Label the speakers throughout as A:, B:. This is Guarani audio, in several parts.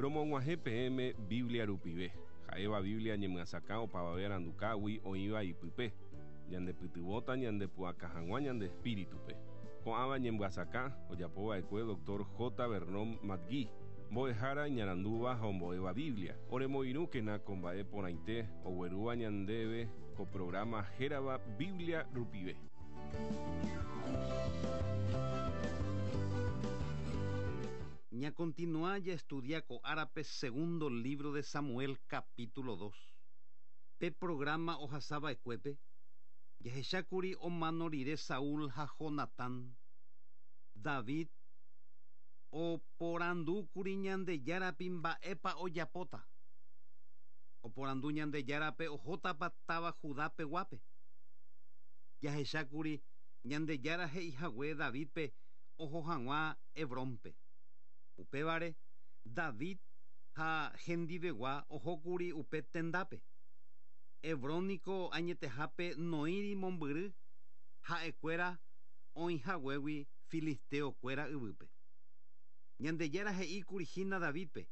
A: Romog̃uahẽ peẽme Biblia rupive, ha'éva Biblia ñemyasakã opavave arandukágui oĩva ipype, ñandepytyvõta ñandepu'aka hag̃ua ñande espíritupe. Ko'ãva ñemyasakã ojapova'ekue Dr. J. Vernon McGee, mbo'ehára iñarandúva ha ombo'éva Biblia. Oremoirũkena ko mba'e porãite oguerúva ñandéve ko programa hérava Biblia rupive.
B: Ñakontinua jaestudia ko árape segundo lívro de Samuel capítulo 2. Pe programa ohasava'ekuépe, jahechákuri omano rire Saúl ha Jonatán. David oporandúkuri Ñandejárape mba'épa ojapóta. Oporandu Ñandejárape ohótapa táva Judapeguápe. Jahechákuri Ñandejára he'ihague Davídpe oho hag̃ua Hebrónpe. Upévare, David ha hendivegua ohókuri upe tendápe. Hebrón niko añetehápe noĩri mombyry ha'ekuéra oĩhaguégui filisteo-kuéra yvýpe. Ñandejára he'íkuri hína Davídpe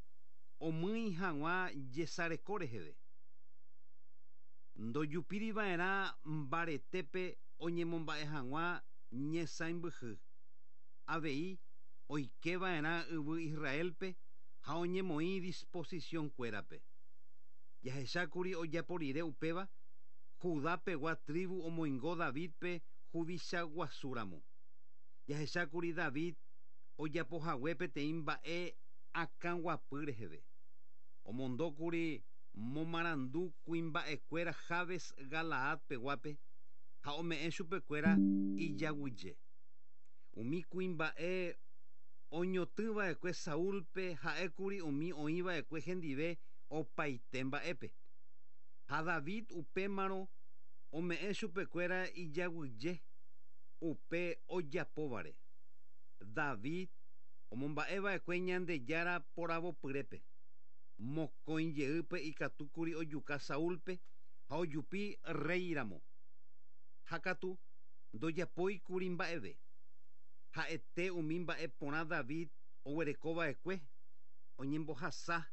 B: omýi hag̃ua jesareko reheve. Ndojupíriva'erã mbaretépe oñemomba'e hag̃ua ñesãimbyhy. Avei oikeva'erã yvy Israélpe ha oñemoĩ disposición-kuérape. Jahechákuri ojapo rire upéva, Judá-pegua tribu omoingo Davídpe huvicha guasúramo. Jahechákuri David ojapohague peteĩ mba'e akãguapy reheve. Omondókuri momarandu kuimba'ekuéra Jabes Galaad-peguápe ha ome'ẽ chupekuéra ijaguyje. Umi kuimba'e oñotỹva'ekue Saúlpe ha'ékuri umi oĩva'ekue hendive opaite mba'épe. Ha David upémarõ ome'ẽ chupekuéra ijaguyje upe ojapóvare. David omomba'eva'ekue Ñandejára poravopyrépe. Mokõi jeýpe ikatúkuri ojuka Saúlpe ha ojupi rréiramo. Ha katu ndojapóikuri mba'eve. Ha'ete umi mba'e porã David oguerekova'ekue oñembohasa.